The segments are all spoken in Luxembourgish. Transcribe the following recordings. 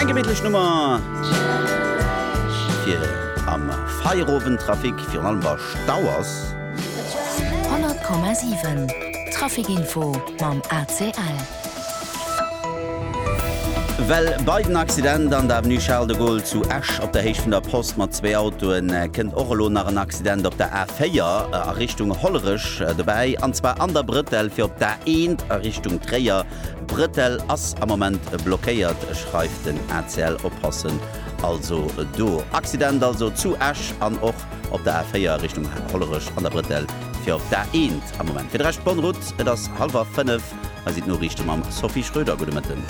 Eng gemittlech Nummer fir am Feierowendtrafic, virun allem wa Stau ass. 100,7 Traficinfo mam ACL. Well bei den Accident an der Avenue Charles de Gaulle zu Esch op der Héicht vun der Post mat zwéi Autoen kënnt och elo nach en Accident op der A4 a Richtung Hollerech dobäi, an zwar an der Brëtell fir op d'A1 a Richtung Tréier. D'Brëtell ass am Moment blockéiert, schreift den ACL. Oppassen also do. Accident also zu Esch an och op der A4 Richtung Hollerech an der Brëtell fir op d'A1 am Moment. Fir de Rescht bonne route. Et ass hallwer 5. Hei sinn d'Noriichte mam Sophie Schröder. Gudde Mëtten.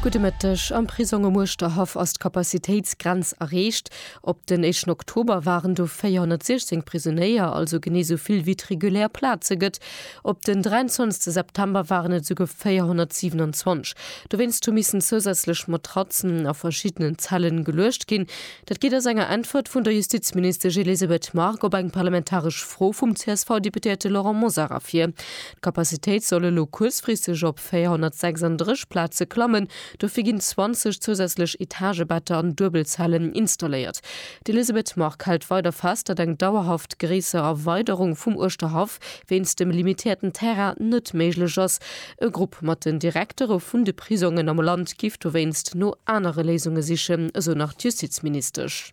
Gudde Mëtteg. Am Prisong um Uerschterhaff ass d'Capacitéitsgrenz erreecht. Op den éischten Oktober waren do 416 Prisonéier, also genee sou vill wéi et regulär Plaze gëtt. Op den 23 September waren et esouguer 427. Dowéinst hu missen zousätzlech Matratzen a verschiddenen Zellen geluecht ginn. Dat geet aus enger Äntwert vun der Justizministesch Elisabeth Margue op eng parlamentaresch Fro vum CSV-Deputéierte Laurent Mosar ervir. D'Capacitéit soll elo kuerzfristeg op 436 Plaze klammen. Dofir ginn 20 zousätzlech Etagebetter an Duebelzellen installéiert. D'Elisabeth Margue hält weider fest, datt eng dauerhaft gréisser Erweiderung vum Uerschterhaff wéinst dem limitéierten Terrain net méiglech ass. E Grupp mat den Direktere vun de Prisongen am Land giff dowéinst no anere Léisunge sichen, esou nach d'Justizministesch.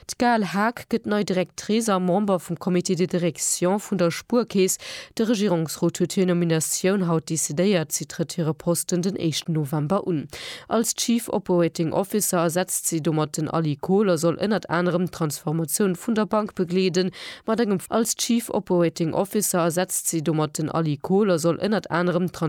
D'Gaëlle Haag gëtt nei Directrice a Member vum Comité de direction vun der Spuerkeess. De Regierungsrot huet hir Nominatioun haut decidéiert. Si trëtt hire Posten den éischten November un. Als Chief Operating Officer ersetzt si domat den Aly Kohl a soll ënnert anerem d'Transformatioun vun der Bank begleeden. Mat engem Als Chief Operating Officer ersetzt si domat den Aly Kohl a soll ënnert anerem d'Trans.